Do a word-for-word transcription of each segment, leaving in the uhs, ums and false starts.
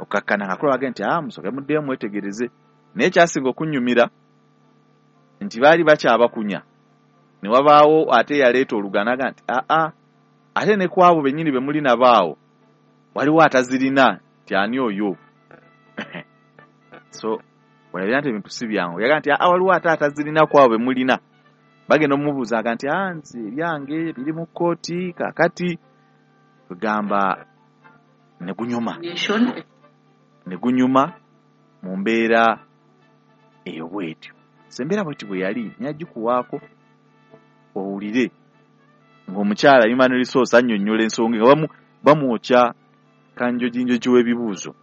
Okkakkana nga kulaba nti ah, musooke muddeyo mwetegereze. Naye kyasinga okunnyumira nti baali bakyabakunya ne wabaawo ate yaleeta oluganaga nti aa, ate ne ku abo bennyini be muli nabaawo waliwo atazirina, nti ani oyo? So walabira nti ebintu si byangu. Yaga nti aa, waliwo ate atazirina ku abo be mulina. Bagenda omubuuzaaga nti aa, nze ebyange biri mu kkooti kaakati. Kugamba ne gunyuma ne gunyuma mu mbeera eyo bw'etyo. So embeera bw'etyo bwe yali nyagikuwaako owulire ng'omukyala human resource annyonnyola ensonga nga bamu bamwokya kanjojinjoji w'ebibuuzo.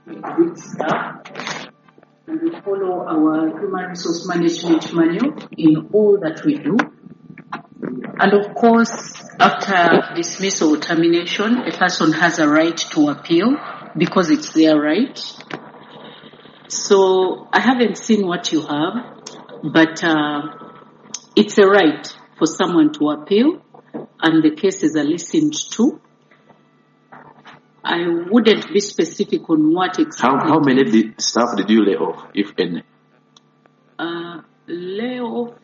Good staff, and we follow our human resource management manual in all that we do. And of course, after dismissal or termination, a person has a right to appeal because it's their right. So I haven't seen what you have, but uh, it's a right for someone to appeal and the cases are listened to. I wouldn't be specific on what exactly. How, how many did, staff did you lay off, if any? Uh, lay off.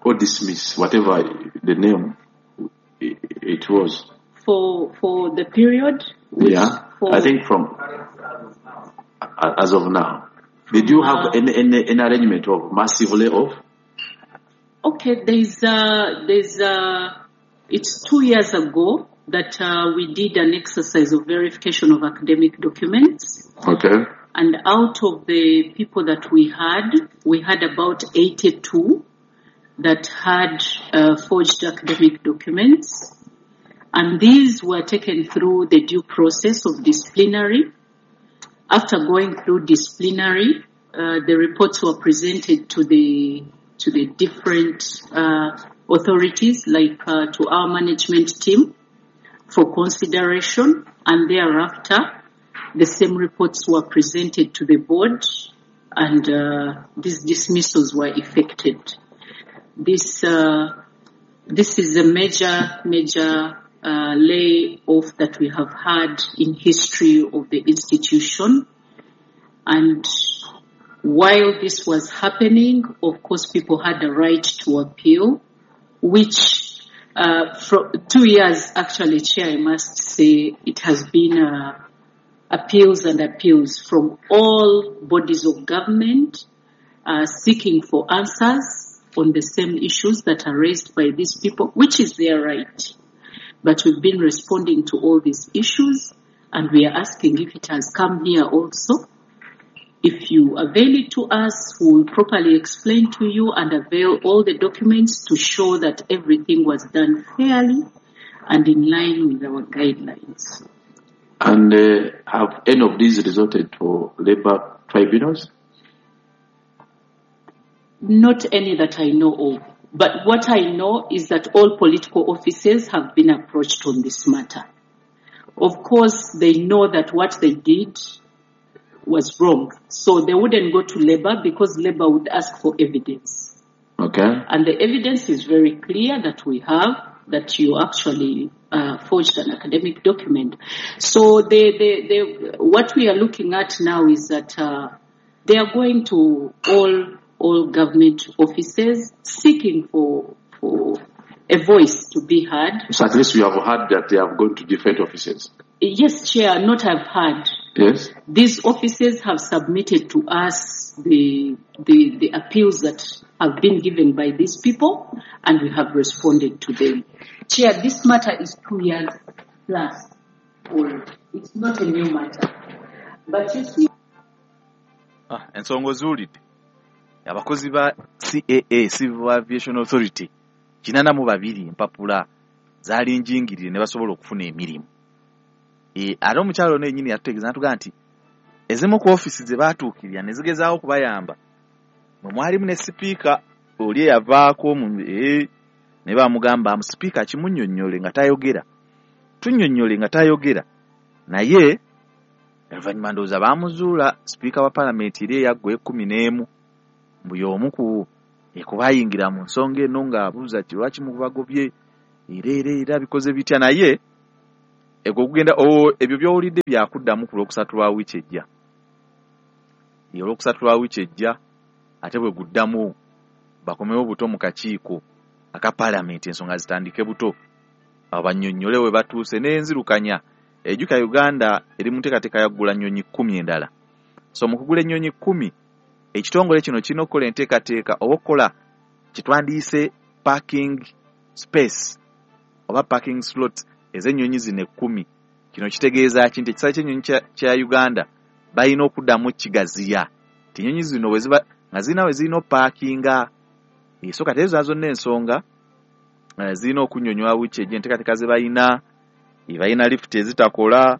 Or dismiss, whatever the name it, it was. For, for the period? Which yeah, for I think from, as of now. Did you have uh, any, any, any arrangement of massive layoff? Okay, there's, uh, there's, uh, it's two years ago that uh, we did an exercise of verification of academic documents. Okay. And out of the people that we had, we had about eighty-two that had uh, forged academic documents. And these were taken through the due process of disciplinary. After going through disciplinary, uh, the reports were presented to the to the different uh, authorities, like uh, to our management team, for consideration, and thereafter the same reports were presented to the board, and uh, these dismissals were effected. This uh, this is a major, major uh, layoff that we have had in history of the institution. And while this was happening, of course, people had the right to appeal, which Uh, for two years, actually, Chair, I must say it has been uh, appeals and appeals from all bodies of government uh, seeking for answers on the same issues that are raised by these people, which is their right. But we've been responding to all these issues, and we are asking if it has come here also. If you avail it to us, we will properly explain to you and avail all the documents to show that everything was done fairly and in line with our guidelines. And uh, have any of these resulted to labor tribunals? Not any that I know of. But what I know is that all political offices have been approached on this matter. Of course, they know that what they did was wrong. So they wouldn't go to labor because labor would ask for evidence. Okay. And the evidence is very clear that we have that you actually uh, forged an academic document. So they, they, they, what we are looking at now is that uh, they are going to all, all government offices seeking for, for a voice to be heard. So at least you have heard that they have gone to different offices. Yes, Chair, not have heard. Yes. These offices have submitted to us the, the, the appeals that have been given by these people, and we have responded to them. Chair, this matter is two years plus old. It's not a new matter. But you see... Ah, ensonga ozuulidde. Abakozi ba C A A, Civil Aviation Authority, kinana mu babiri empapula zaali njingirire ne basobola okufuna emirimu. E, ate omukyalo ono yennyini yatutegeeza n'atugamba nti ezimu ku ofiisi ze baatuukirira ne zigezaawo okubayamba, mwe mwalimu ne sipiika oli eyavaako mu, e, ne bamugamba mu sipiika kimunnyonnyole nga tayogera, tunnyonnyole nga tayogera, naye oluvannyuma ndowooza baamuzuula sipiika wa paalamenti eri eyaggwa ekkumi n'emu, mbu y'omu ku ekubayingira mu nsonga eno ng'abuuza ki lwaki mubagobye, era era era bikoze bitya, naye Ego kugenda o ebyo by'owulidde byakuddamu ku lwokusatu lwa wiiki ejja. Olwokusatu lwa wiiki ejja ate bwe guddamu bakomewo buto mu kakiiko aka paalamenti, ensonga zitandike buto, abannyonnyole we batuuse n'enzirukanya. Ejjuka Uganda eri mu nteekateeka ya kugula nnyonyi kkumi endala. So mu kugula ennyonyi kkumi, ekitongole kino kirina okukola enteekateeka oba okukola kye twandiyise parking space oba parking slot ez'ennyonyi zino ekkumi. Kino kitegeeza ki? Nti ekisaawe ky'ennyonyi kya Uganda balina okuddamu kigaziya, nti ennyonyi zino bwe ziba nga zirina we zirina opaakinga. So kati ezo zonna ensonga zirina okunnyonnyolwa wiiki ejja, enteekateeka ze balina. Balina lifuti ezitakola,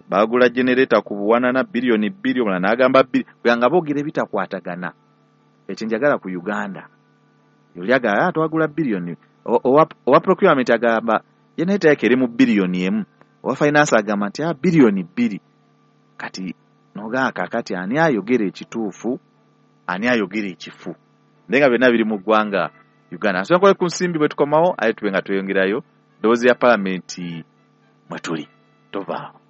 baagula genereta ku buwanana biliyoni bbiri, omulala n'agamba bbiri, kubanga boogera ebitakwatagana. Ekyo njagala ku Uganda. Oli agamba twagula biliyoni, owa procurement agamba generator yake eri mu biliyoni emu, owa finance agamba nti biliyoni bbiri. Kati n'ogamba kaakati ani ayogera ekituufu, ani ayogera ekifu? Naye nga byonna biri mu ggwanga Uganda. Nsonga ku nsimbi bwe tukomawo, aye tube nga tweyongerayo ddoboozi ya paalamenti mwe tuli. Tovaawo.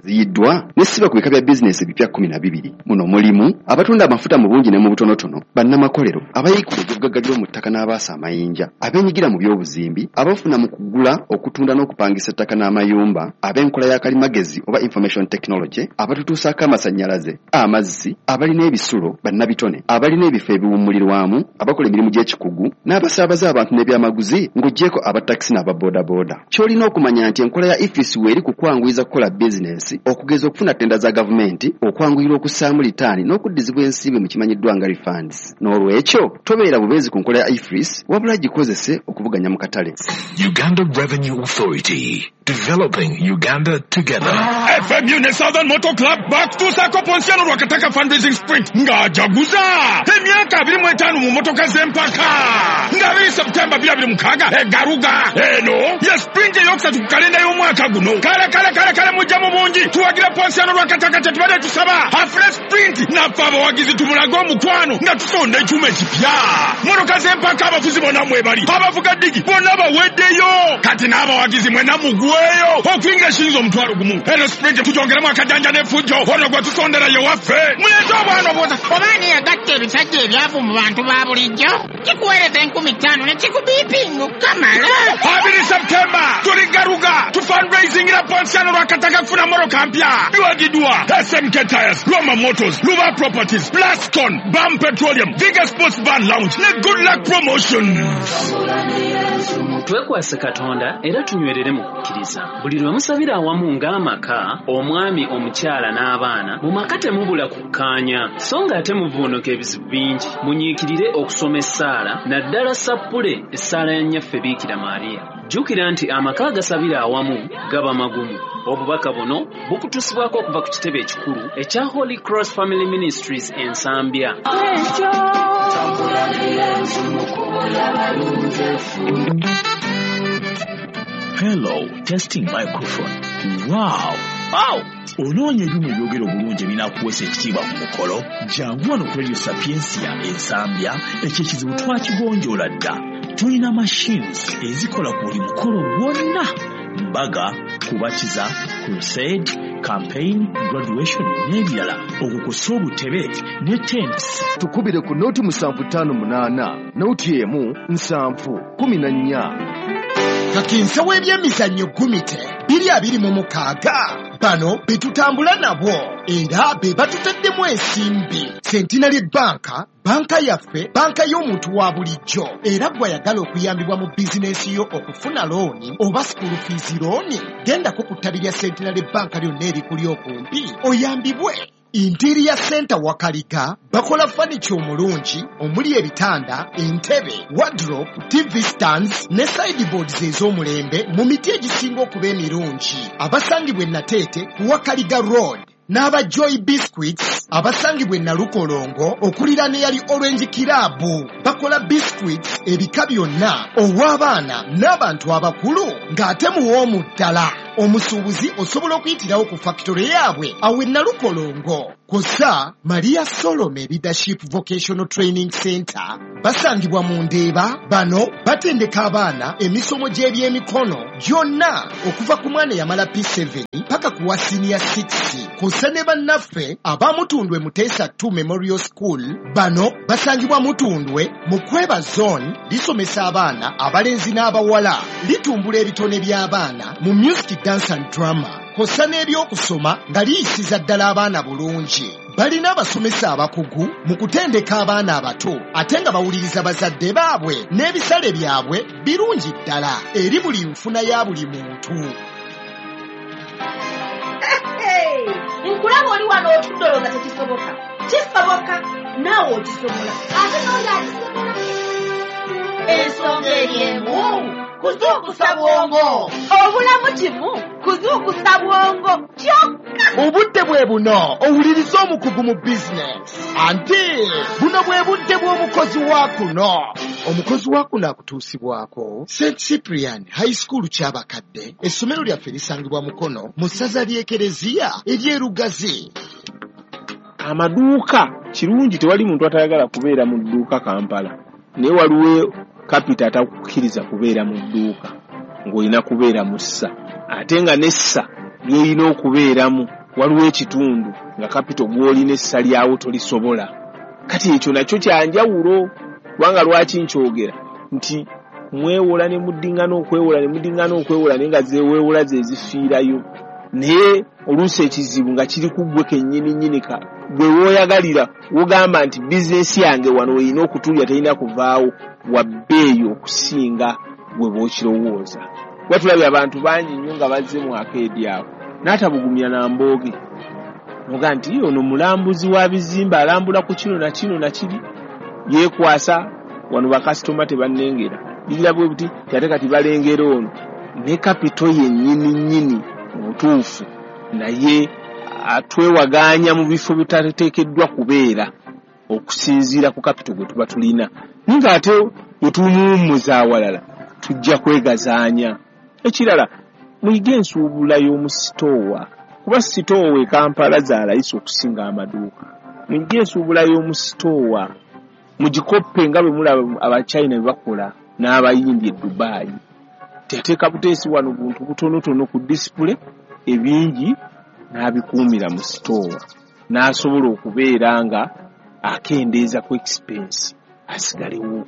Ziyiddwa ne siba ku bika bya bizinesi ebipya kkumi na bibiri. Muno mulimu abatunda amafuta mu bungi ne mu butonotono, bannamakolero, abayiikula ebyobugagga by'omu ttaka n'abaasa amayinja, abeenyigira mu by'obuzimbi, abafuna mu kugula, okutunda n'okupangisa ettaka n'amayumba, ab'enkola ya kalimagezi oba information technology, abatutuusaako amasannyalaze, amazzi, abalina ebisulo, bannabitone, abalina ebifo ebiwummulirwamu, abakola emirimu gy'ekikugu, n'abasaabaza abantu n'ebyamaguzi, ng'oggyeko abatakisi n'ababoodabooda. Ky'olina okumanya nti enkola ya EFRIS weeri ku kwanguyiza kukola bizinesi, okugeza okufuna ttenda za gavumenti, okwanguyira okussaamu litaani n'okuddizibwa ensimbi mu kimanyiddwa nga refunds. N'olwekyo tobeera bubeezi ku nkola ya EFRIS, wabula gikozese okuvuganya mu katale. Uganda Revenue Authority, developing Uganda together. F M U ne Southern Motor Club bakutuusaako Ponsiano Lwakataka fundraising sprint ng'ajaguza emyaka abiri mu etaano mu motoka z'empaka nga abiri September bibiri abiri mukaaga egaruga. Eno ye sprint eyokusatu ku kalenda y'omwaka guno. Kale kale kale kale mujja mu bungi tuwagira Ponsiano Lwakataka, kyetubadde tusaba afune sprint naffe abawagizi tumulage omukwano nga tusonda ekyuma ekipya. Motoka z'empaka abavuzi bonna mwebali, abavuga ddigi bonna baweddeyo, kati n'abawagizi mwenna mugweyo okuyingira eshinza omutwalo gumu. Eno sprint tugyongeremu akajanja n'effujjo, ono gwe tusondera ye waffe. Muleete obwana obwoza. Oba ani yagatta ebisajja ebyavu mu bantu ba bulijjo, kikuweereza enkumi ttaano ne kikubiipinga okukamala. Abiri September tuli Garuga tu fundraisingira Ponsiano Lwakataka kufuna motoka mpya. Biwagiddwa S M K Tires, Roma Motors, Luba Properties, Plascon, Bam Petroleum, Viga Sports Bar Lounge ne Good Luck Promotions. Twekwase Katonda era tunywerere mu kukkiriza. Buli lwe musabira awamu ng'amaka, omwami, omukyala n'abaana, mu maka temubula kukkaanya, so ng'ate muvuunuka ebizibu bingi. Munyiikirire okusoma essaala, naddala sappule essaala ya Nnyaffe Biikira Maria. Jjukira nti amaka agasabira awamu gaba magumu. Obubaka buno bukutuusibwako okuva ku kitebe ekikulu ekya Holy Cross Family Ministries e Nsambya. Hello, testing microphone. Wow! Wow! Onoonya ebyuma ebyogera obulungi ebinaakuweesa ekitiibwa ku mukolo? Jangu wano ku Radio Sapientia e Nsambya, ekyo ekizibu twakigonjoola dda. Tulina machines ezikola ku buli mukolo gwonna: mbaga, kubatiza, crusade, campaign, graduation n'ebirala. Okwo kw'ossa obutebe ne tents. Tukubire ku nooti musanvu ttaano munaana, nooti emu nsanvu kumi na nnya. Kakinsa w'ebyemizannyo Gumite biri abiri mu mukaaga, bano be tutambula nabo era be batutaddemu ensimbi. Centenary Bank, banka yaffe, banka y'omuntu wa bulijjo, era gw'ayagala okuyambibwa mu bizinensi yo okufuna looni oba school fees looni, gendako ku ttabi lya Centenary Bank lyonna erikuli okumpi oyambibwe. Interior Center Wakaliga bakola furniture omulungi omuli ebitanda, entebe, wardrobe, T V stands ne sideboards ez'omulembe mu miti egisinga okuba emirungi. Abasangibwa e Nateete ku Wakaliga Road n'aba Joy Biscuits Abasangibwa e Nalukolongo okuliraana eyali Orange Club. Bakola biscuits ebika byonna ow'abaana n'abantu abakulu ng'ate muwoomu ddala. Omusuubuzi osobola okuyitirawo ku factory yaabwe awo e Nalukolongo. Kw'ossa Maria Solome Leadership Vocational Training Center basangibwa mu Ndeeba. Bano batendeka abaana emisomo gy'ebyemikono gyonna okuva ku mwana eyamala P seven paka ku wa senior six. Kw'ossa ne bannaffe abamutundwe Muteesa two Memorial School. Bano basangibwa Mutundwe mu Kweba Zone. Lisomesa abaana abalenzi n'abawala, litumbula ebitone by'abaana mu music, dance and drama, kw'ossa n'ebyokusoma nga liyisiza ddala abaana bulungi. Balina abasomesa abakugu mu kutendeka abaana abato ate nga bawuliriza bazadde baabwe, n'ebisale byabwe birungi ddala eri buli nfuna ya buli muntu. Nkulaba oli wano otudde olowooza tekisoboka. Kisoboka, naawe okisobola, ate n'oli akisobola. Ensonga eri emu, kuzuukusa bwongo. Obulamu kimu, kuzuukusa bwongo kyokka. Obudde bwe buno owuliriza omukugu mu bizinesi. Anti buno bwe budde bw'omukozi wa kuno. Omukozi wa kuno akutuusibwako Saint Cyprian High School Kyabakadde. Essomero lyaffe lisangibwa Mukono mu ssaza ly'Ekereziya ery'Erugazi. Amaduuka kirungi, tewali muntu atayagala kubeera mu dduuka Kampala, naye waliwo kapita atakukkiriza kubeera mu dduuka ng'olina kubeera mu ssa, ate nga n'essa ly'olina okubeeramu waliwo ekitundu nga kapito gw'olina essa lyawo tolisobola. Kati ekyo nakyo kyanjawulo, kubanga lwaki nkyogera nti mwewola ne muddingana okwewola ne muddingana okwewola, naye nga zeweewola ze zifiirayo. Naye oluusi ekizibu nga kiri ku ggwe kennyini nnyini, ka gwe w'oyagalira wogamba nti bizinesi yange wano erina okutulya terina kuvaawo, wa bbeeyi okusinga gwe bw'okirowooza. Kuba tulabye abantu bangi nnyo nga bazze mu akeedi awo n'atabugumya na mbooge, noga nti ono mulambuzi wa bizimbe, alambula ku kino na kino na kiri, yeekwasa wano bakasitoma tebannengera bigira bwe buti, ate kati balengera ono ne kapito yennyini nnyini mu butuufu, naye atwewagaanya mu bifo bitateekeddwa kubeera okusinziira ku kapito gwe tuba tulina. Naye ng'ate bwe tumuwummuza awalala tujja kwegazaanya. Ekirala, muyige ensuubula y'omu sitoowa, kuba sitoowa e Kampala za layisi okusinga amaduuka. Muyige ensuubula y'omu sitoowa, mugikoppe nga bwe mulaba Abachina bwe bakola n'Abayindi e Dubai. Teteeka buteesi wano buntu butonotono ku disipule, ebingi n'abikuumira mu sitoowa, n'asobola okubeera nga akendeeza ku expense asigalewo.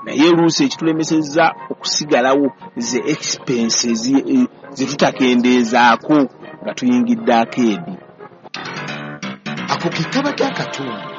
Naye oluusi ekitulemesezza okusigalawo ze expenses ze tutakendeezaako nga tuyingidde akeedi. Ako ke kabadde akatundu.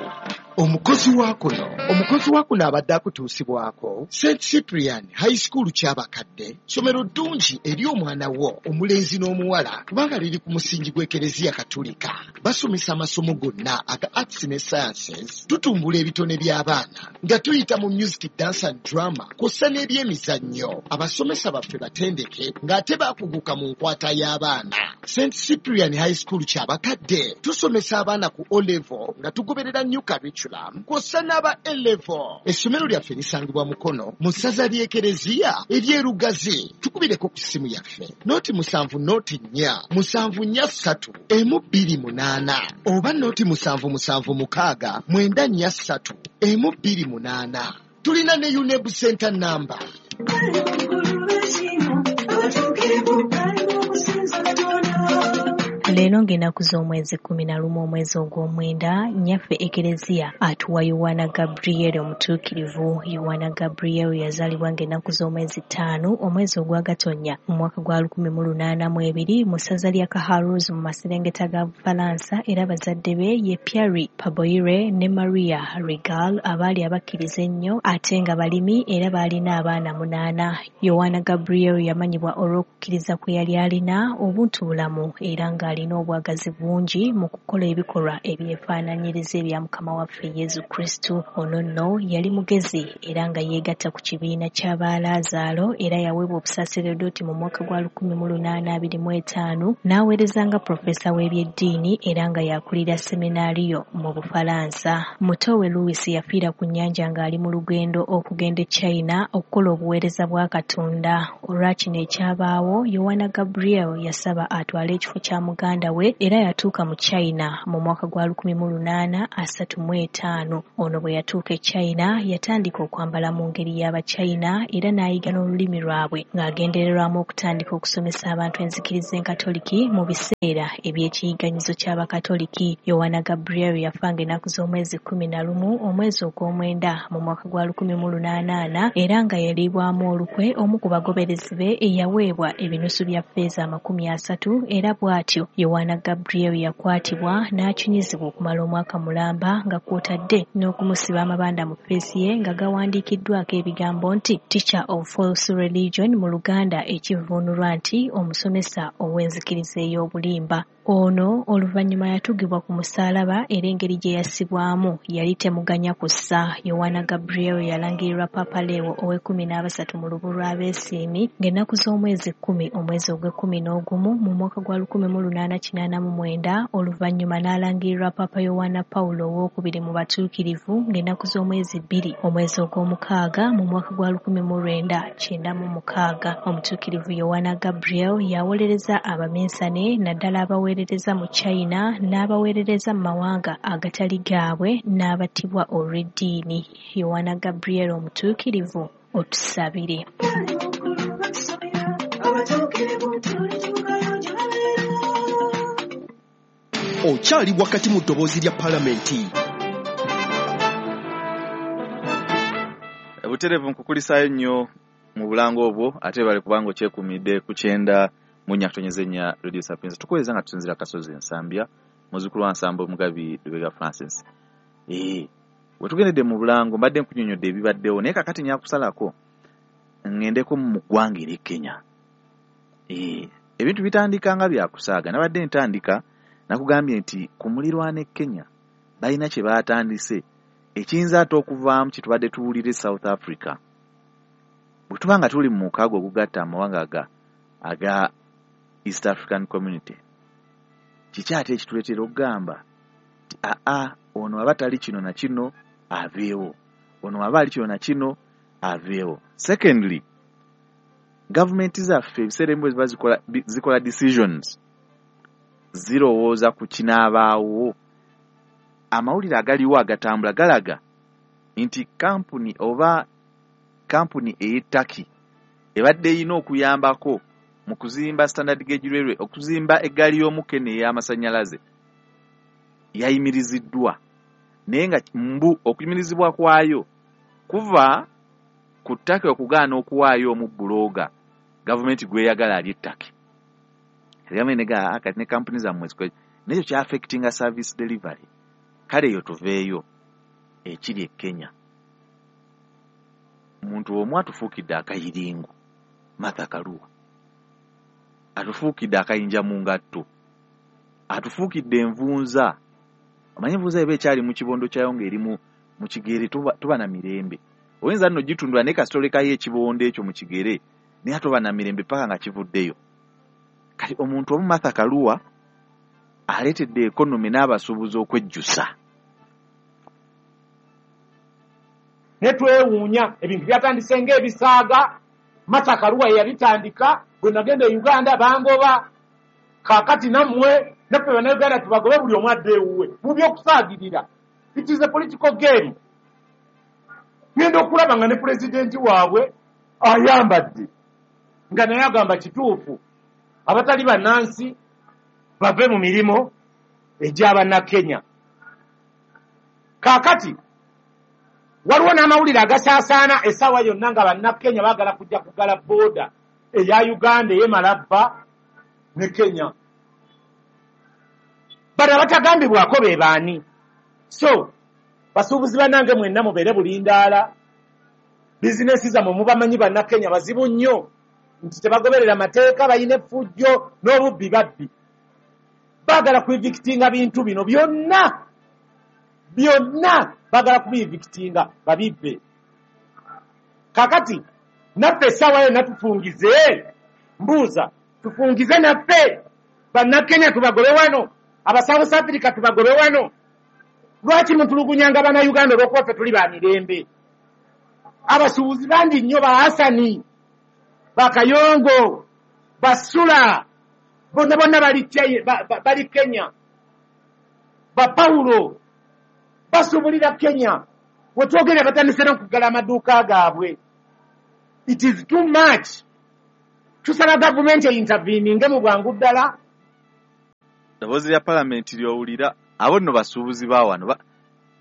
Omukozi wa kuno omukozi wa kuno abadde akutuusibwako Saint Cyprian High School Kyabakadde. Ssomero ddungi eri omwana wo omulenzi n'omuwala, kubanga liri ku musingi gw'Ekereziya Katulika. Basomesa amasomo gonna aga arts ne sciences. Tutumbula ebitone by'abaana nga tuyita mu music, dance and drama, kw'ossa n'ebyemizannyo. Abasomesa baffe batendeke ng'ate baakuguka mu nkwata y'abaana. Saint Cyprian High School Kyabakadde tusomesa abaana ku O level nga tugoberera new curriculum, kw'ossa n'aba A level. Essomero lyaffe lisangibwa Mukono mu ssaza ly'Ekereziya ery'Erugazi. Tukubireko ku ssimu yaffe noti musanvu noti nnya musanvu nnya ssatu emu bbiri munaana oba noti musanvu musanvu mukaaga mwenda nnya ssatu emu bbiri munaana. Tulina ne UNEB Center number. Leero ng'ennaku z'omwezi kkumi na lumu omwezi ogw'omwenda, nnyaffe Ekereziya atuwa Yowaana Gabriel omutuukirivu. Yowaana Gabriel yazaalibwa ng'ennaku z'omwezi ttaano omwezi ogwa Gatonnya mu mwaka gwa lukumi mu lunaana mu ebiri mu ssaza lya Kaharuz mu maserengeta ga Bufalansa, era bazadde be ye Pierre Paboire ne Maria Regal abaali abakkiriza ennyo ate nga balimi, era baalina abaana munaana. Yowaana Gabriel yamanyibwa olw'okukkiriza kwe yali alina, obuntu bulamu, era ng'alina ng'alina obwagazi bungi mu kukola ebikolwa ebyefaananyiriza ebya Mukama waffe Yesu Kristo. Ono nno yali mugezi era nga yeegatta ku kibiina ky'Abalaazaalo era yaweebwa obusaseredooti mu mwaka gwa lukumi mu lunaana abiri mu etaano n'aweereza nga profesa w'ebyeddiini era nga yakulira seminaariyo mu Bufalansa. Muto we Louis yafiira ku nnyanja ng'ali mu lugendo okugenda e China okukola obuweereza bwa Katonda. Olwa kino ekyabaawo, Yowana Gabriel yasaba atwale ekifo kya muganda we era yatuuka mu China mu mwaka gwa lukumi mu lunaana asatu mu etaano. Ono bwe yatuuka e China yatandika okwambala mu ngeri y'Abachina era n'ayiga n'olulimi lwabwe ng'agendererwamu okutandika okusomesa abantu enzikiriza enkatoliki mu biseera eby'ekiyiganyizo ky'Abakatoliki. Yowana Gabriel yafa ng'ennaku z'omwezi kkumi na lumu omwezi ogw'omwenda mu mwaka gwa lukumi mu lunaana ana era nga yaliibwamu olukwe omu ku bagoberezi be eyaweebwa ebinusu bya ffeeza amakumi asatu era bw'atyo Yowana Gabriel yakwatibwa n'akinyizibwa okumala omwaka mulamba nga kw'otadde n'okumusiba amabanda mu ffeesi ye nga gawandiikiddwako ebigambo nti Teacher of False Religion mu Luganda ekivvuunulwa nti omusomesa ow'enzikiriza ey'obulimba. Ono oluvannyuma yatugibwa ku musaalaba era engeri gye yassibwamu yali temuganya kussa. Yowana Gabriel yalangirirwa Papa Leo ow'ekkumi n'abasatu mu lubu lw'Abeesiimi ng'ennaku z'omwezi kkumi omwezi ogw'ekkumi n'ogumu mu mwaka gwa lukumi mu lunaana kinaana mu mwenda, oluvannyuma n'alangirirwa Papa Yowana Pawulo owookubiri mu batuukirivu ng'ennaku z'omwezi bbiri omwezi ogw'omukaaga mu mwaka gwa lukumi mu lwenda kyenda mu mukaaga. Omutuukirivu Yowana Gabriel yawolereza abaminsane naddala abawe abaweerereza mu China n'abaweerereza mu mawanga agatali gaabwe n'abattibwa olw'eddiini. Yowana Gabriel omutuukirivu otusabire. Okyali wakati mu ddoboozi lya Palamenti. Butereevu nkukulisaayo nnyo mu bulango obwo ate bale kubanga okyekumidde ku kyenda mu nnya ntonyeza ennya Radio Sapienza. Tukuweereza nga tusinziira Kasozi Nsambya, muzzukulu wa Nsamba Omugabi Lubega Francis. Ee, we tugendedde mu bulango mbadde nkunnyonnyodde ebibaddewo naye kaakati nyakusalako ŋŋendeko mu ggwanga ery'e Kenya. Ee, ebintu bitandika nga byakusaaga. Nabadde ntandika nakugambye nti ku mulirwano e Kenya balina kye baatandise ekiyinza ate okuvaamu kye tubadde tuwulira e South Africa. Bwe tuba nga tuli mu mukago ogugatta amawanga aga aga East African Community, kiki ate ekituleetera okugamba nti aa ono aba tali kino na kino aveewo, ono aba ali kino na kino aveewo. Secondly, gavumenti zaffe ebiseera ebimu bwe ziba zikola, zikola decisions zirowooza ku kinaabaawo. Amawulire agaliwo agatambula galaga nti kampuni oba kampuni ey'e Turkey ebadde erina okuyambako mu kuzimba Standard Gauge Railway, okuzimba eggaali y'omukka eno ey'amasannyalaze yayimiriziddwa, naye nga mbu okuyimirizibwa kwayo kuva ku Turkey okugaana okuwaayo omu bbulooga gavumenti gw'eyagala ali e Turkey. Gavumenti negamba kati ne kampuni zammwe zikole n'ekyo ky'affectinga service delivery. Kale eyo tuveeyo ekiri e Kenya. Omuntu omu atufuukidde akayiringo, Martha Karua atufuukidde akayinja mu ngatto, atufuukidde envunza. Omanyi envunza eba ekyali mu kibondo kyayo ng'eri mu mu kigere, toba, toba na mirembe. Oyinza nno gitundula naye kasita olekayo ekibondo ekyo mu kigere naye toba na mirembe paka nga kivuddeyo. Kati omuntu omu Martha Karua aleetedde ekonomi n'abasuubuzi okwejjusa. Ne twewuunya ebintu byatandise ng'ebisaaga. Martha Karua yabitandika, bwe nagenda e Uganda bangoba. Kaakati nammwe naffe Bannayuganda tubagobe buli omu adde ewuwe mu by'okusaagirira. It is a political game. Ngenda okulaba nga ne pulezidenti waabwe ayambadde nga naye agamba kituufu abatali bannansi bave mu mirimu egy'Abannakenya. Kaakati waliwo n'amawulire agasaasaana essaawa yonna nga Bannakenya baagala kujja kugala booda eya Uganda ey'e Malaba ne Kenya. Bano abatagambibwako be baani? So basuubuzi bannange mwenna mubeere bulindaala. Bizinesi zammwe mubamanyi Bannakenya bazibu nnyo nti tebagoberera mateeka, balina effujjo n'obubbi babbi. Baagala kuevictinga bintu bino byonna byonna, baagala kubievictinga babibbe. Kakati naffe essaawa yonna tufungize, mbuuza tufungize naffe bannakenya tubagobe wano, aba South Africa tubagobe wano. Lwaki mutulugunyanga bannayuganda olw'okuba ffe tuli ba mirembe? Abasuubuzi bangi nnyo, ba Hasani, Bakayongo, Basula, bonna bonna bali bali Kenya, ba Paulo basuubulira Kenya. Wetwogera batandise n'okuggala amaduuka gaabwe. It is too much. Tusaba gavumenti einterveninge mu bwangu ddala. Ddoboozi lya palamenti ly'owulira, abo nno basuubuzi ba wano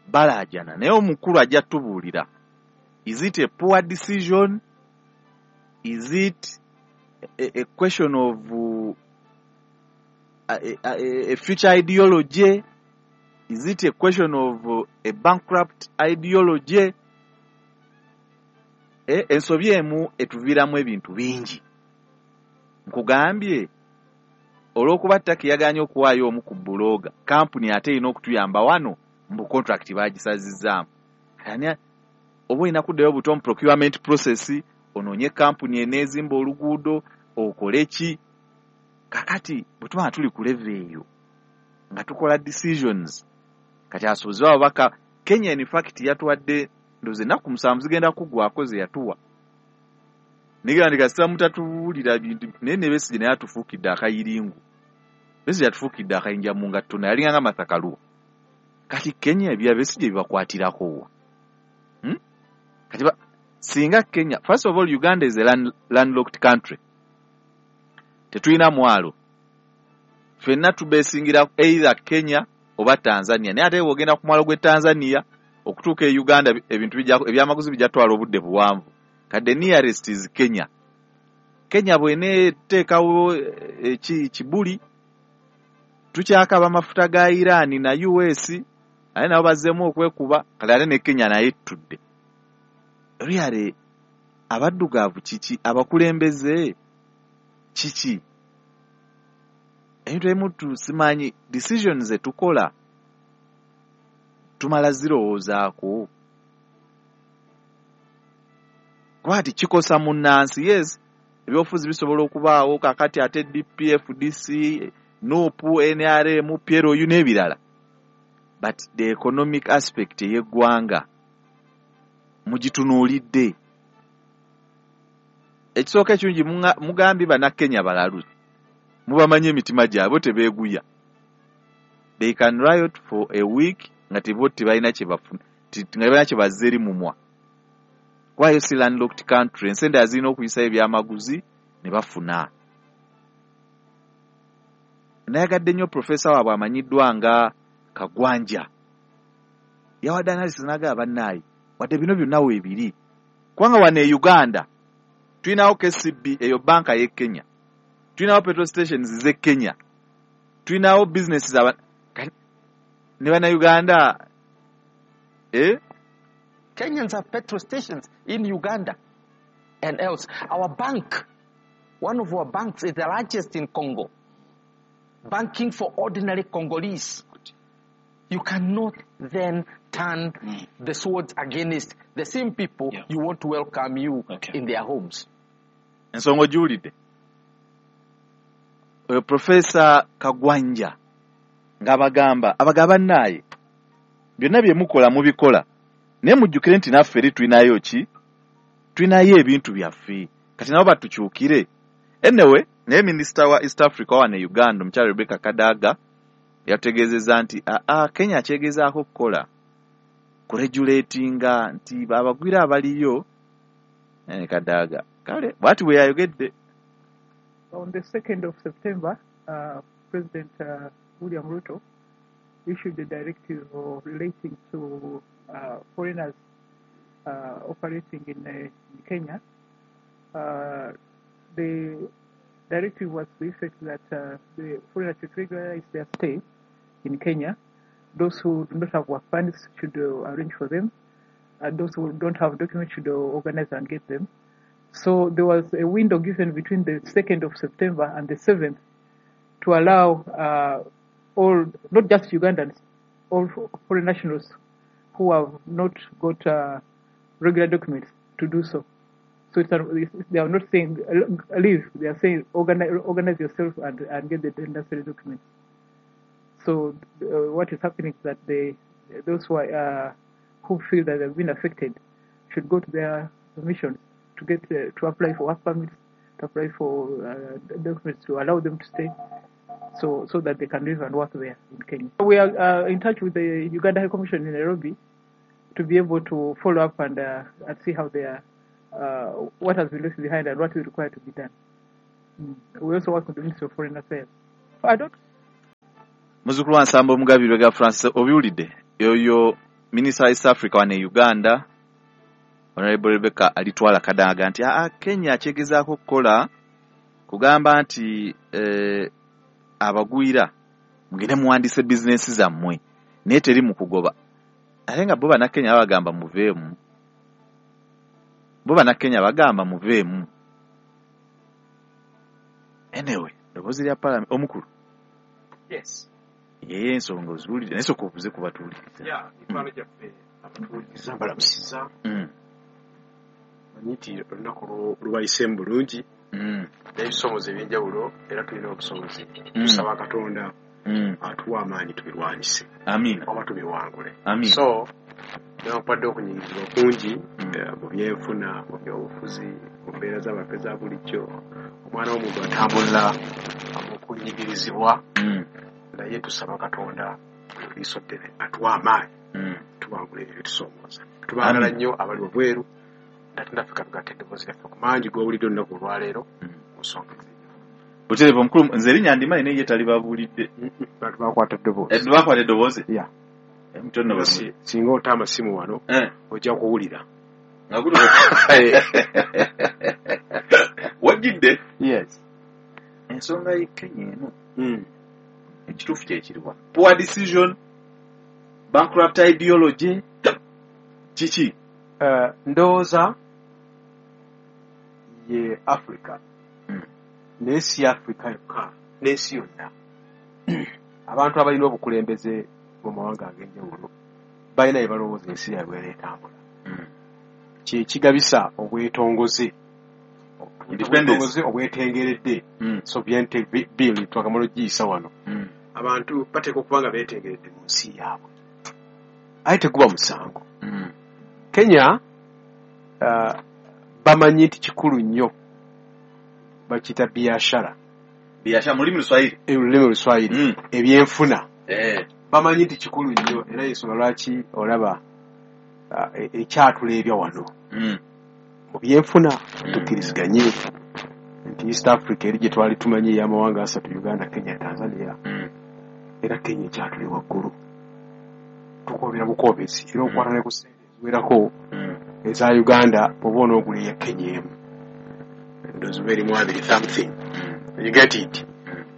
balaajana, naye omukulu ajja tubuulira. Is it a poor decision? Is it a, a question of uh, a, a, a future ideology? Is it a question of uh, a bankrupt ideology? E, ensobi emu etuviiramu ebintu bingi. Nkugambye olw'okuba Turkey yagaanye okuwaayo omu ku buloga, kampuni ate erina okutuyamba wano mbu contract baagisazizzaamu. Ani oba olina kuddayo buto mu procurement process, onoonye kampuni eneezimba oluguudo, okole ki? Kakati bwe tuba nga tuli ku level eyo nga tukola decisions, kati asuubuzi ababaka Kenya in fact yatuwadde ndowooza ennaku musanvu zigenda kuggwako ze yatuwa. Nigera ndi kasita mutatubuulira bintu, naye ne Besigye naye atufuukidde akayiringu. Besigye atufuukidde akayinja mu ngatto, naye alinganga Martha Karua. Kati Kenya ebya Besigye bibakwatirako wa? Hmm? Kati ba, singa Kenya, first of all Uganda is a land, landlocked country. Tetulina mwalo. Ffenna tubeesingira either Kenya oba Tanzania. Naye ate bw'ogenda ku mwalo gw'e Tanzania okutuuka e Uganda ebintu bijja ebyamaguzi bijja twala obudde buwanvu. Kati the nearest is Kenya. Kenya bw'eneeteekawo eki kibuli, tukyakaba amafuta ga Iran na U S, ate nabo bazzeemu okwekuba, kale ate ne Kenya naye ettudde. Really, abaddugavu kiki? Abakulembeze kiki? Ebintu ebimu tusimanyi, decisions ze tukola tumala zirowoozaako. Kuba ati kikosa munnansi, yes, ebyobufuzi bisobola okubaawo kakati ate D P, F D C, N U P, N R M, P L U n'ebirala. But the economic aspect ey'eggwanga mugitunuulidde. Ekisooka ekirungi mugambye bannakenya balalu, mubamanyi emitima gyabwe tebeeguya. They can riot for a week nga tebo tebalina kye bafuna, nga tebalina kye bazza eri mumwa. Kwayo si landlocked country, ensi endala zirina okuyisayo ebyamaguzi ne bafuna. Nayagadde nnyo profesa waabwe amanyiddwa nga Kagwanja. Yawadde analysis n'agamba bannaaye, wadde bino byonna weebiri. Kubanga wano e Uganda tulinawo K C B, eyo banka y'e Kenya. Tulinawo petrol stations z'e Kenya. Tulinawo businesses aba ne bannayuganda eh? Kenyans have petrol stations in Uganda and else. Our bank, one of our banks is the largest in Congo. Banking for ordinary Congolese. You cannot then turn mm. the swords against the same people yeah. you want to welcome you okay. in their homes. Ensonga ogiwulidde. Oyo Professor Kagwanja ng'abagamba abagaba nnaye byonna bye mukola mubikola, naye mujjukire nti naffe eri tulinayo ki? Tulinayo ebintu byaffe. Kati nabo batukyukire. Anyway, naye minisita wa East Africa wano e Uganda omukyala Rebecca Kadaga yategeezezza nti aa Kenya akyegezaako okukola kuregulatinga nti abagwira abaliyo. Eh, Kadaga kale bw'ati bwe yayogedde. On the second of September, uh, President uh, William Ruto issued a directive relating to uh, foreigners uh, operating in, uh, in Kenya. Uh, the directive was to the effect that uh, the foreigners should regularize their stay in Kenya. Those who do not have work permits should uh, arrange for them. And those who don't have documents should uh, organize and get them. So there was a window given between the second of September and the seventh to allow uh, all, not just Ugandans, all foreign nationals who have not got uh, regular documents to do so. So it's, they are not saying leave, they are saying organize, organize yourself and, and get the necessary documents. So uh, what is happening is that they, those who, are, uh, who feel that they've been affected should go to their missions to get uh, to apply for work permits, to apply for uh, documents to allow them to stay, so so that they can live and work there in Kenya. We are uh, in touch with the Uganda High Commission in Nairobi to be able to follow up and, uh, and see how they are, uh, what has been left behind and what is required to be done. Mm. We also work with the Ministry of Foreign Affairs. I don't. Muzukulu wa Nsamba Omugabi Lwega Francis obiwulidde yoyo Minister East Africa wane Uganda Honorable Rebecca Alitwala Kadaga nti aa Kenya kyegezaako okukola kugamba nti eh, abagwira mugende muwandiise bizinensi zammwe naye teri mu kugoba, ate nga bo bannakenya babagamba muveemu, bo bannakenya bagamba muveemu. Anyway, ddoboozi lya Parliament omukulu. Yes. Yeye ensonga oziwulidde naye sooka obuze ku batuwuliriza. Yeah, mikwano gyaffe abatuwuliriza mbalamusiza. Mm. Manyi nti olunaku lubayiseemu bulungi Mm. n'ebisomozo eby'enjawulo era tulina obusobozi. Mm. Tusaba Katonda Mm. atuwe amaanyi tubirwanyise. Amiina. Oba tubiwangule. Amiina. So newankubadde okunyigirizibwa kungi eh, mu byenfuna, mu byobufuzi, mu mbeera z'abantu eza bulijjo, omwana w'omuntu atambulira mu kunyigirizibwa, Mm. naye tusaba Katonda eriiso ddene atuwe amaanyi Mm. tuwangule ebyo ebitusoomooza. Tubaagala Amiina. nnyo abali wabweru ate naffe katugatte eddoboozi lyaffe ku mangi g'owulidde olunaku olwaleero ku nsonga ez'enjawulo. Butereevu omukulu, nze erinnya ndimanyi naye ye talibabuulidde. Bantu bakwata eddoboozi. Eh, bakwata eddoboozi? Yeah. Eh, mutono Era si- singa ota amasimu wano Eh. ojja kuwulira. Nga guli wajjidde? Yes. Ensonga y'e Kenya eno Mm. ekituufu kye kiriwa? Poor decision, bankrupt ideology, kiki? Eh, ndowooza ye Africa Mm. naye si Africa yokka n'ensi yonna. Abantu abalina obukulembeze mu mawanga ag'enjawulo balina bye balowooza ensi yaabwe eneetambula. Mm. Kye kigabisa obwetongoze, Independence. obwetongoze obwetengeredde Mm. sovereignty bill twakamala ogiyisa wano. Mm. Abantu bateekwa okuba nga beetengeredde mu nsi yaabwe, aye teguba musango. Mm. Kenya uh, bamanyi nti kikulu nnyo bakiyita biashara Biashara mu lulimi Luswahili. Olulimi Oluswahili Mm. ebyenfuna Eh. bamanyi nti kikulu nnyo era ensonga lwaki olaba uh, e- ekyatuleebya wano Mm. mu byenfuna tukkiriziganye nti East Africa eri gye twali tumanyi ey'amawanga asatu Uganda, Kenya, Tanzania Mm. era Kenya ekyatuli waggulu tukoobera bukoobezi era okwata ne ku ssente eziwerako Mm. eza Uganda bw'oba onoogula eya Kenya emu ndowooza oba erimu abiri something Mm. you get it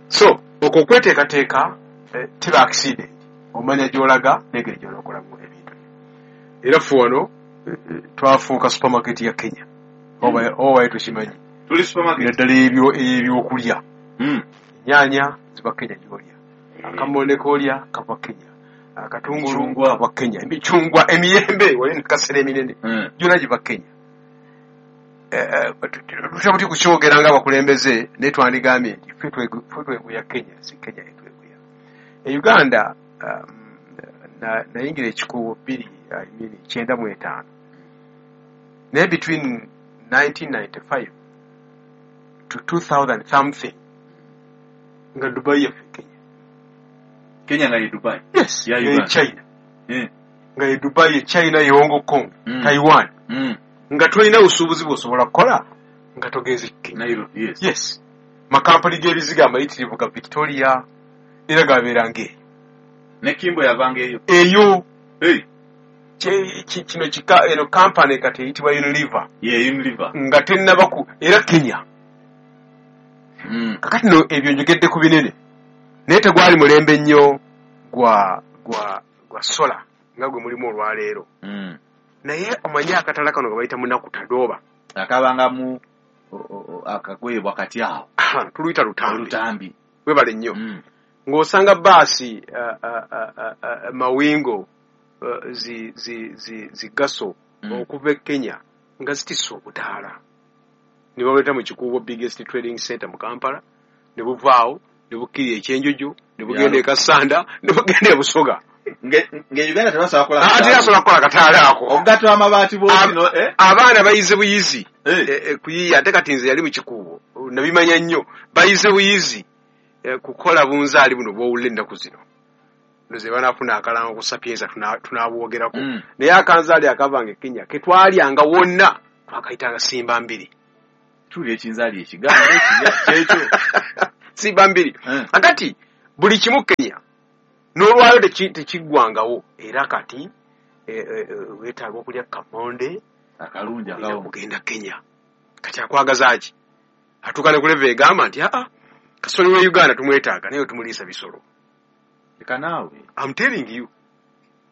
so okwo okweteekateeka eh, teba accident omanya gy'olaga n'engeri gy'onookolamu ebintu era ffe wano eh, eh, twafuuka supermarket ya Kenya oba oba tukimanyi Tuli supermarket. naddala ebyo ebyokulya Mm. ennyaanya ziva Kenya gy'olya akamonde k'olya kava Kenya akatungulu Emicungwa. kava Kenya emicungwa emiyembe wali nekasera eminene Mm. gyonna giva Kenya Eh, eh, tutya buti kukyogera ng'abakulembeze naye twandigambye nti ffe twegu- ffe tweguya Kenya si Kenya yetweguya e Uganda um, na- nayingira ekikubo bbiri I mean, kyenda mu etaano naye between nineteen ninety-five to two thousand something nga Dubai yaffe Kenya Kenya nga ye Dubai. yes Ya ye Uganda. China Eh. nga ye Dubai ye China ye Hong Kong Mm. Taiwan Mm. nga tolina busuubuzi bw'osobola kukola nga togenze Kenya Nairobi, yes. yes makampani g'ebiziga amayitirivu ga Victoria era gabeera ng'eyo Ne Kimbo yavanga eyo. eyo Hey. Kye- ki- kino kika eno kampani kati eyitibwa Unilever Yeah, Unilever. nga tennaba ku era Kenya Mm. kakati no ebyo njogedde ku binene naye tegwali mulembe nnyo gwa gwa gwa sola nga gwe mulimu olwaleero Mm. naye omanyi akatala kano ge bayita munaku tadooba Akabanga mu o- o- o- akagoye wakati awo. tuluyita lutambi Olutambi. webale nnyo Mm. Ng'osanga baasi uh, uh, uh, uh, mawingo uh, zi, zi, zi, zi gaso mm. okuva e Kenya nga zitisse obutaala ne babuleeta mu Kikuubo biggest trading center mu Kampala, ne buvaawo ne bukkirira Ekyenjojo, ne bugenda e Kassanda, ne bugenda e Busoga. Nge Uganda tebasobola kukola kataala. Tebasobola kukola kataala ako. Omugato w'amabaati bw'otino, eh? Abaana bayize buyizi eh. Eh, kuyiya, ate kati nze yali mu Kikuubo nabimanya nnyo, bayize buyizi eh, kukola bunzaali buno bw'owulira ennaku zino. Nze banaafuna akalango ku Sapienza tunabwogerako. Mm. Naye akanzaali akavanga e Kenya ketwalyanga wonna twakayitanga simba mbiri. Tuli ekinzaali ekiganda ekirya kyekyo. Simba mbiri. Mm. Akati buli kimu Kenya n'olwayo tekiggwangawo, era kati weetaaga okulya kamonde akalungi akawo kugenda Kenya. Kati akwagaza ki? Atuuka ne ku level egamba nti aa kasoli we Uganda tumwetaaga naye tumuliisa bisolo. Leka naawe. I'm telling you.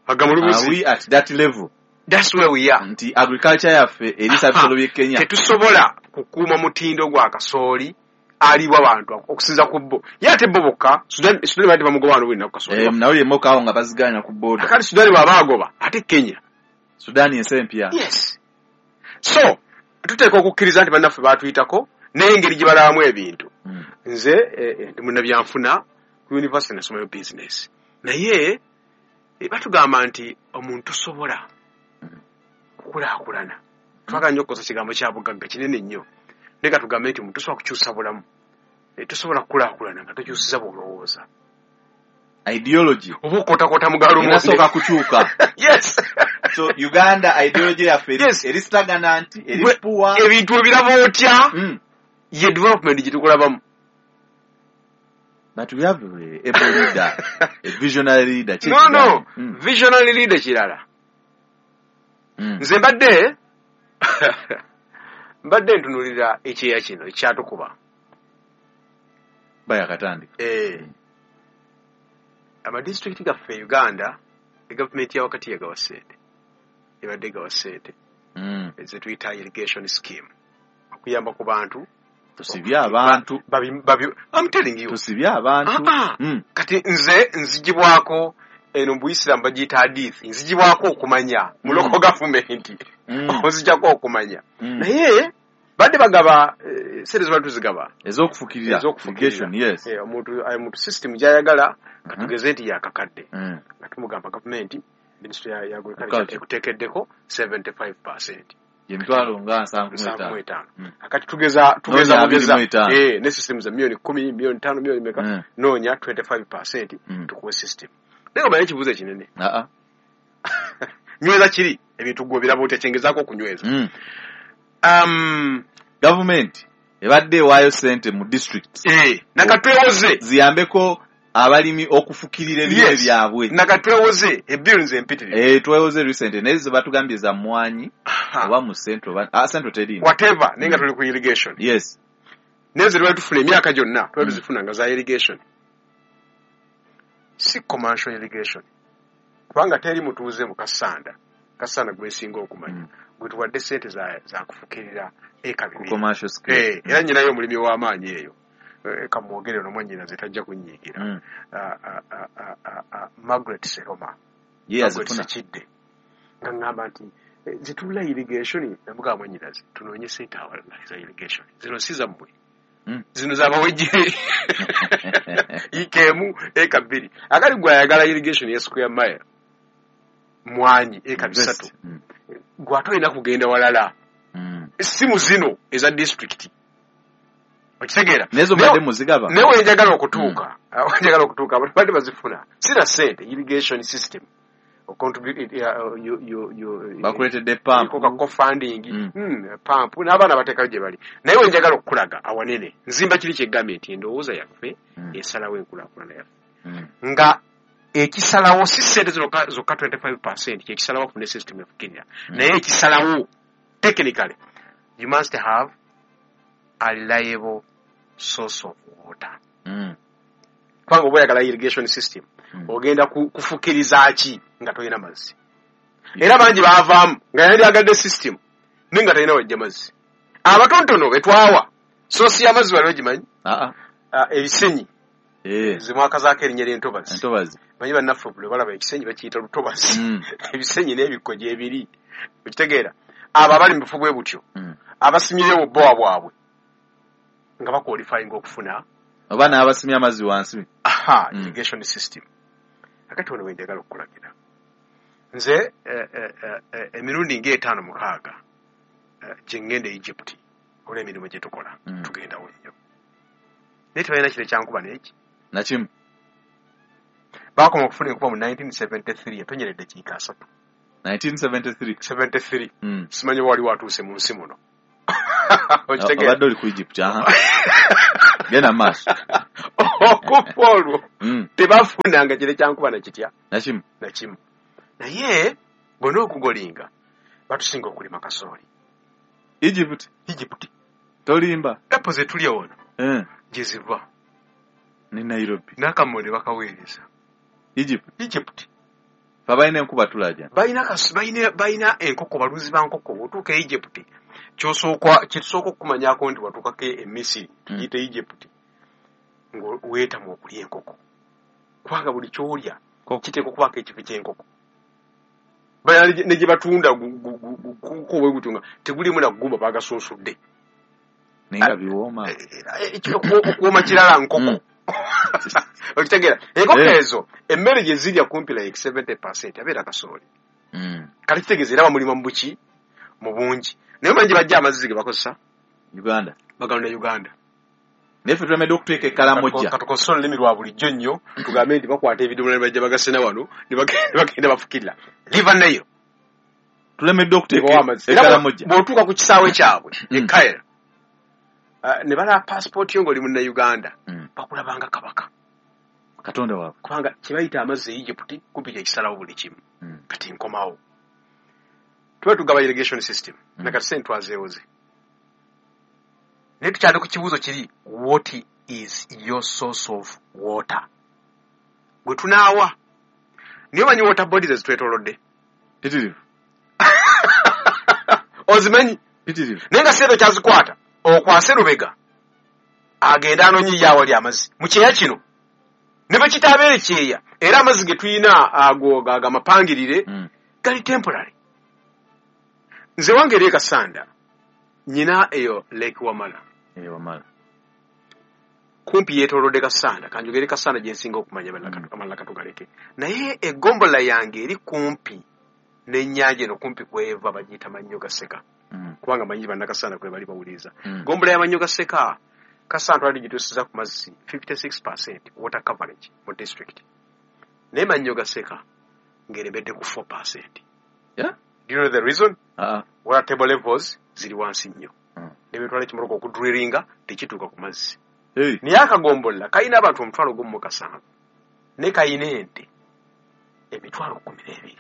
Agamulubuzi. Are we at that level? That's where we are. Nti agriculture yaffe eriisa bisolo by'e Kenya. Tetusobola kukuuma mutindo gwa kasooli aliibwa abantu okusinza ku bo. Ye ate bo bokka, Sudan Sudan badde bamugoba wano buli nnaku kasooli. Eh, nawe yemmoka awo nga baziganya ku border. Akati Sudan bw'aba agoba, ate Kenya. Sudan ensi empya. Yes. So, tuteekwa okukkiriza nti bannaffe baatuyitako n'engeri gye balabamu ebintu. Mm. Nze eh, ndi munnabyanfuna ku university nasomayo business. Naye eh, batugamba nti omuntu tosobola kukulaakulana. Twagala nnyo okukozesa kigambo kya bugagga kinene nnyo. Naye katugambe nti omuntu tosobola kukyusa bulamu. E, tosobola kukulaakulana nga tokyusiza bw'olowooza. Ideology. Oba okootakoota mu galo Inasooka kukyuka. Yes. So Uganda ideology yaffe yes. eri stagnant, eri poor. Ebintu ebiraba otya? Mm. Ye development gye tukulabamu. But we have a able leader, a visionary leader. No, no. Mm. Visionary leader kirala. Mm. Nze mbadde mbadde ntunuulira ekyeya kino ekyatukuba. Bayakatandika. Eh. Amadisitulikiti gaffe Uganda, gavumenti ya wakati yagawa ssente. Ebadde egawa ssente. Mm. Ze tuyita irrigation scheme. Okuyamba ku bantu. Tusibye abantu. Babi, babi, I'm telling you. Tusibye abantu. Ah, mm. Kati nze nzigibwako eno mu Buisiraamu bagiyita hadith. Nzigibwako okumanya mu Mm. local government. Mm. Onzijjako okumanya. Mm. Naye badde bagaba eh, ssente zibadde tuzigaba. Ez'okufukirira. Ez'okufukirira. Irrigation, yes. Eh, omuntu omuntu system gy'ayagala katugeze nti yakakadde. Mm. Nga tumugamba gavumenti ministry ya, ya agriculture Agriculture. ekuteekeddeko seventy-five percent. Emitwalo nga nsanvu mu Nsanvu mu etaano. etaano. Mm. Akati tugeza tugeza Noonya abiri bugeza mu etaano. eh ne system za milioni kumi, milioni tano, milioni meka Mm. noonya twenty-five percent Mm. tukuwe system. Naye omanyi ekibuuzo ekinene. Ah ah. Nyweza kiri ebintu gwe biraba otya kyengezaako okunyweza. Mm. Um, Government ebadde ewaayo ssente mu district. Eh, nakatwewoze ziyambeko abalimi okufukirira ebirime Yes. byabwe. Nakatwewoze ebill nze empitirivu. Eh, twewoze recent naye ze batugambye za mmwanyi oba mu central oba ah, central teriimu. Whatever, naye nga Mm. tuli ku irrigation. Yes. Naye ze twali tufuna emyaka gyonna twali Mm. tuzifuna nga za irrigation. Si commercial irrigation. Kubanga teri mutuuze mu Kassanda. Kassanda gwe nsinga okumanya. Mm. Gwe tuwadde ssente za, za kufukirira eka Ku bibiri. commercial scale. Eh, era nnyinayo omulimi w'amaanyi eyo. Eh, kamwogere ono mwannyinaze tajja kunnyiigira. Mm. Ah, ah, ah, ah, ah, ah, Margaret Seroma. Ye Margaret yazifuna. Sekidde. Nga ŋŋamba nti eh, zitulula irrigation namugamba mwannyinaze tunoonye ssente awalala eza irrigation. Zino si zammwe. Mm. Zino z'abawejje. Yiika emu eka bbiri. Akali gwe ayagala irrigation ya square mile mwanyi eka bisatu. Mm. Gwe ate olina kugenda walala. Mm. Essimu zino eza district. Okitegeera? Naye zo mbadde muzigaba. Naye we njagala okutuuka, we njagala okutuuka abantu badde bazifuna. Sina ssente irrigation system. Bakuleetedde pump. Co-funding, Mm. mm, pump n'abaana bateekayo gye bali. Naye we njagala okukulaga awanene nzimba kiri kyegambye nti endowooza yaffe Mm. esalawo enkulaakulana yaffe. Mm. Nga ekisalawo si ssente zokka zokka twenty-five percent kyekisalawo okufuna system efukirira. Mm. Naye ekisalawo technically you must have a reliable source of water. Mm. Kubanga oba oyagala irrigation system Mm. ogenda kufukiriza ki nga tolina mazzi. Era bangi baavaamu nga yandyagadde system naye nga talina wajja mazzi. Abatonotono be twawa source y'amazzi wali ogimanyi? Ah ah. Uh, ebisenyi Eh. Zimwakazaako erinnya ly'entobazi. Entobazi. Manyi bannaffe bwe balaba ekisenyi bakiyita lutobazi. Mm. Ebisenyi n'ebikko gyebiri. Okitegeera? Abo abali mu bufo bwe butyo Mm. abasimyewo bbowa bwabwe nga bakwalifyinga okufuna oba n'abasimye amazzi wansi. Aha, Mm. irrigation system. Akati wano we njagala okukulagira. Nze eh, eh, eh, emirundi ng'etaano mukaaga eh, gye ŋŋenda e Egypt olw'emirimu gye tukola Mm. tugendawo nnyo. Naye tebalina kire kyankuba n'eki. Nakimu. Baakoma okufuna enkuba mu nineteen seventy-three etonyera eddakiika asatu. nineteen seventy-three. seventy-three. Mm. Simanyi oba wali watuuse mu nsi muno. Okitegeera? Obadde oli ku Egypt, aha. Genda mu maaso. Okufa olwo Mm. tebafunanga kire kyankuba na kitya? Nakimu. Nakimu. Naye bonna okugolinga batusinga okulima kasooli. Egypt. Egypt. Tolimba. Apple ze tulya wano Eh. gye ziva. Ne Nairobi. N'akammonde bakaweereza. Egypt. Egypt. Fe balina enkuba tulaja. Balina kasu, balina, balina enkoko, balunzi ba nkoko. Bw'otuuka e Egypt, ky'osooka, kye tusooka okukumanyaako nti watuukako e Misiri, tugiyite Egypt, ng'weetamwa okulya enkoko. Kubanga buli ky'olya kiteekwa okubaako ekifo ky'enkoko. Balina ne gye batunda gu- gu- gu- gu- guko bwe gutyo nga tegulimu na ggumba baagasunsudde. Naye nga biwooma. Eh, okuwooma kirala nkoko. Okitegeera? Enkoko Eh. ezo emmere gye zirya kumpi like seventy percent abeera kasooli. Mm. Kati kitegeeza era bamulima mu buki? Mu bungi. Naye omanyi gye bajja amazzi ge bakozesa? Uganda. Baganda Uganda. Naye ffe tulemedde okuteeka ekkalamojja. Katukozese olulimi lwa bulijjo nnyo tugambe nti bakwata ebidomola ne bajja bagasena wano ne bagenda bagenda bafukirira. River Nile. Tulemedde okuteeka Bawa amazzi. Era ekkalamojja. bw'otuuka ku kisaawe kyabwe e Cairo, uh, ne balaba passport yo ng'oli Munnayuganda, bakulabanga kabaka. Katonda waabwe. Kubanga kye bayita amazzi e Egypt kumpi kye kisalawo buli kimu. Kati nkomawo. Tuba tugaba irrigation system. Na kati ssente twazeewoze. Naye tukyali ku kibuuzo kiri, what is your source of water? Gwe tunaawa. Naye omanyi water bodies ezitwetoolodde? Pitirivu. Ozimanyi? Pitirivu. Naye nga ssente okyazikwata, okwase Lubega agende anoonye ye awali amazzi. Mu kyeya kino ne bwe kitaabeere kyeya, era amazzi ge tulina ago ago amapangirire gali temporary. Nze wange eri e Kasanda nnyina eyo Lake Wamala. Eh, Wamala. Kumpi yeetoolodde Kasanda, kanjogere Kasanda gye nsinga okumanya amalala katugaleke. Naye eggombolola yange eri kumpi n'ennyanja eno kumpi kweva bagiyita Mannyo Gaseka. Kubanga manyi bannakasanda kwe bali bawuliriza. Ggombolola ya Mannyo Gaseka, Kasanda twali gituusiza ku mazzi fifty-six percent water coverage mu district. Naye Mannyo Gaseka ng'eremedde ku four percent. Yeah? Do you know the reason? Uh-uh. Water table levels ziri wansi nnyo. Ne betwala ekimotoka okudrillinga tekituuka ku mazzi. Hey. Naye akagombolola kalina abantu omutwalo gumu mu kasanvu ne kalina ente emitwalo kkumi n'ebiri.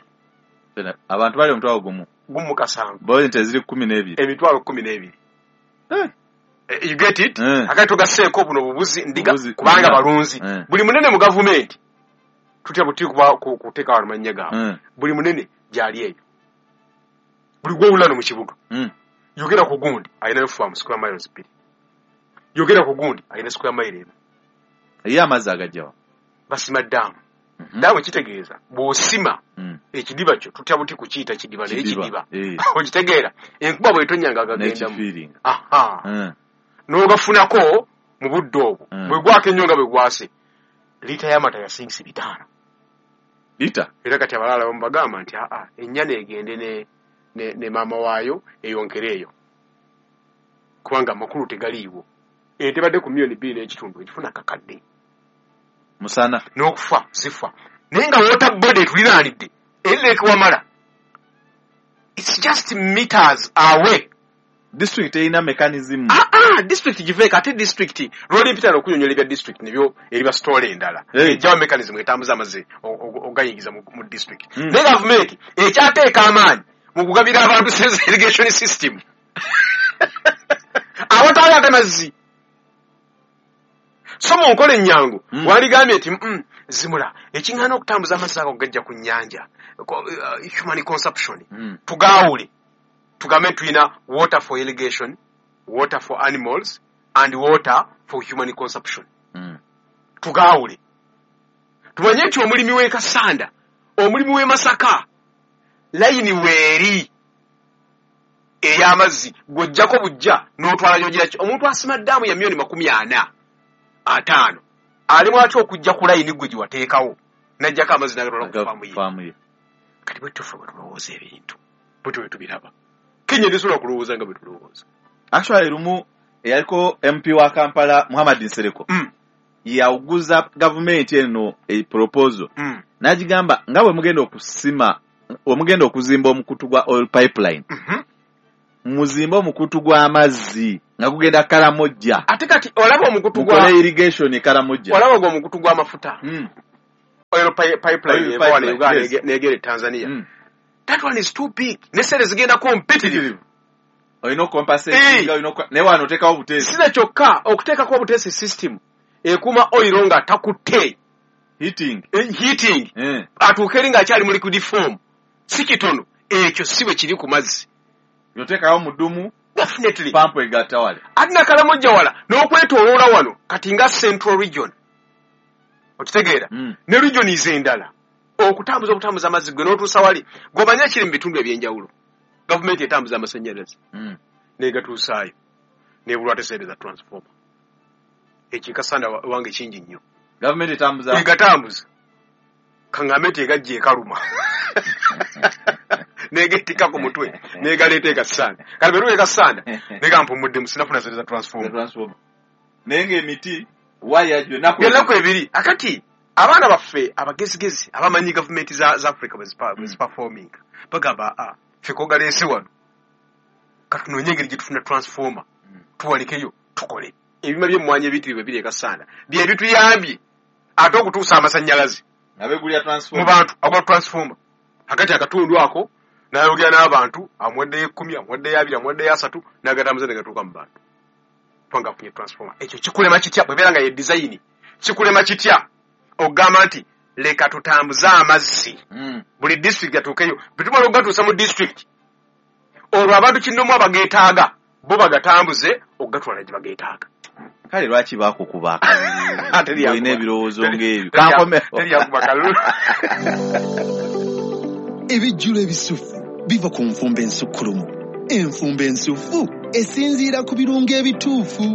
Abantu bali omutwalo gumu. Gumu mu kasanvu. Bo ente ziri kkumi n'ebiri. Emitwalo kkumi n'ebiri. Eh. You get it? Eh. Akati tugasseeko buno bubuzi ndiga Bubuzi, kubanga ndiga. balunzi. Eh. Buli munene mu gavumenti tutya buti kuba kuteeka wano mannya gaabwe. Eh. Buli munene gy'ali eyo. Buli gw'owulira mu kibuga. Mm. Yogera ku gundi alinayo farm square miles bbiri. Yogera ku gundi alina square mile emu. Ye amazzi agajjawa. Basima ddaamu. Ddaamu kitegeeza bw'osima Mm. ekidiba kyo tutya buti kukiyita kidiba naye Kidiba. kidiba. Eh. Okitegeera enkuba bw'etonnya nga agagendamu. N'ekifiiringa. Aha. Eh. N'ogafunako mu budde obwo. Mm. Bwe gwaka ennyo nga bwe gwase. Liita y'amata yasingisa bitaano. Liita? Era kati abalala abamu bagamba nti aa ennyana egende ne ne, ne maama waayo eyonkere eyo. Kubanga amakulu tegaliiwo. Ente badde ku miliyoni bbiri n'ekitundu ekifuna kakadde. Musana. N'okufa zifa. Naye nga water body etuliraanidde eri Lake Wamala. It's just meters away. District erina mechanism. Ah ah, district giveeko ate district lwali mpita okunyonyola ebya district nibyo eriba story endala. Hey. Ejjawo mechanism etambuza amazzi ogayingiza mu, mu district. Mm. Naye gavumenti ekyateeka amaanyi mu kugabira abantu irrigation system. Awatali ate mazzi. So mu nkola ennyangu mm. wandigambye nti mm, zimula ekiŋŋaana okutambuza amazzi ago gajja ku nnyanja uh, human consumption mm. tugaawule tugambe tulina water for irrigation, water for animals and water for human consumption. Mm. Tugaawule, tumanye nti omulimi w'e Kasanda, omulimi w'e Masaka, layini weeri ey'amazzi gw'ojjako bujja n'otwala gy'ogira ki. Omuntu asima ddaamu ya miliyoni makumi ana ataano alimu atya okujja ku layini gwe gye wateekawo n'ajjako amazzi n'agatwala ku faamu ye? Kati bwe tufe bwe tulowooza ebintu, bwe tube tubiraba. Kenya tesobola kulowooza nga bwe tulowooza. Actually lumu eyaliko M P wa Kampala Muhammad Nsereko mm. yawuguza gavumenti eno e proposal mm. n'agigamba nga bwe mugenda okusima, bwe mugenda okuzimba omukutu gwa oil pipeline mm -hmm. muzimbe omukutu gw'amazzi nga gugenda Karamojja. Ate kati olaba omukutu gwa mukole irrigation e Karamojja, olaba gwo omukutu gw'amafuta mm. oil pipeline eva wano Uganda negere Tanzania mm. that one is too big, ne zigenda competitive, olina okucompensate, olina naye wano oteekawo obuteesi. Sina kyokka okuteekako obuteesi system ekuuma oil nga takutte heating heating eh. atuuke eri ng'akyali mu liquid form, si kitono ekyo si bwe kiri ku mazzi. Yoteekawo mudumu definitely pampu egatta wale ate Nakalamojja wala n'okwetooloola wano kati nga central region okitegeera mm. ne regions endala okutambuza okutambuza amazzi gwe n'otuusa wali gw'omanya kiri mu bitundu ebyenjawulo. Gavumenti etambuza amasannyalaze mm. negatuusaayo nebulwa sente za transformer. Ekyo Kasanda wange kingi nnyo. Gavumenti etambuza egatambuza kaŋŋambe nti egajja ekaluma negetikka ku mutwe negaleeta e Kasanda. Kati bwe luba e Kasanda nega mpumuddemu sinafuna sente za transformer naye ng'emiti waya ennaku ebiri. Akati abaana baffe abagezigezi abamanyi gavumenti za Africa bwe ziperforminga bagamba a ffe kogaleese wano katunoonye engeri gye tufuna transformer tuwalikeyo tukole. Ebima by'emmwanyi ebiyitirivu ebiri e Kasanda bye bituyambye ate okutuusa amasannyalaze mu bantu agula transformer. Akati akatundu ako n'ayogera n'abantu amuwaddeyo ekkumi, amuwaddeyo abiri, amuwaddeyo asatu n'agatambuza ne gatuuka mu bantu kubanga afunye transformer. Ekyo kikulema kitya bw'ebeera nga ye design? Kikulema kitya okugamba nti leka tutambuze amazzi buli district atuukeyo? Bwe tumala okugatuusa mu district olwo abantu kinnomu abageetaaga bo bagatambuze okugatwala gye bageetaaga. Kale lwaki baakukuba akalulu olina ebirowoozo ng'ebyo? Ebijjulo ebisufu biva ku nfumba ensukkulumu. Enfumba ensufu esinziira ku birungo ebituufu.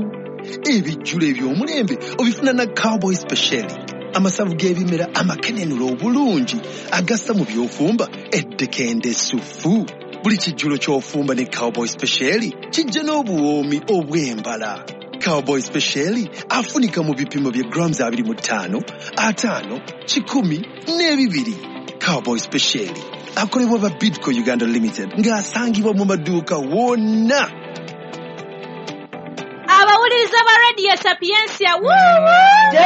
Ebijjulo eby'omulembe obifuna na Cowboy Special, amasavu g'ebimera amakenenula obulungi agassa mu by'ofumba eddekende essufu. Buli kijjulo ky'ofumba ne Cowboy Special kijja n'obuwoomi obw'embala. Cowboy Special afunika mu bipimo bya grams abiri mu ttaano, ataano, kikumi n'ebibiri. Cowboy Special akolebwa ba Bidco Uganda Limited ng'asangibwa mu maduuka wonna. Abawuliriza ba Radio Sapientia, woo!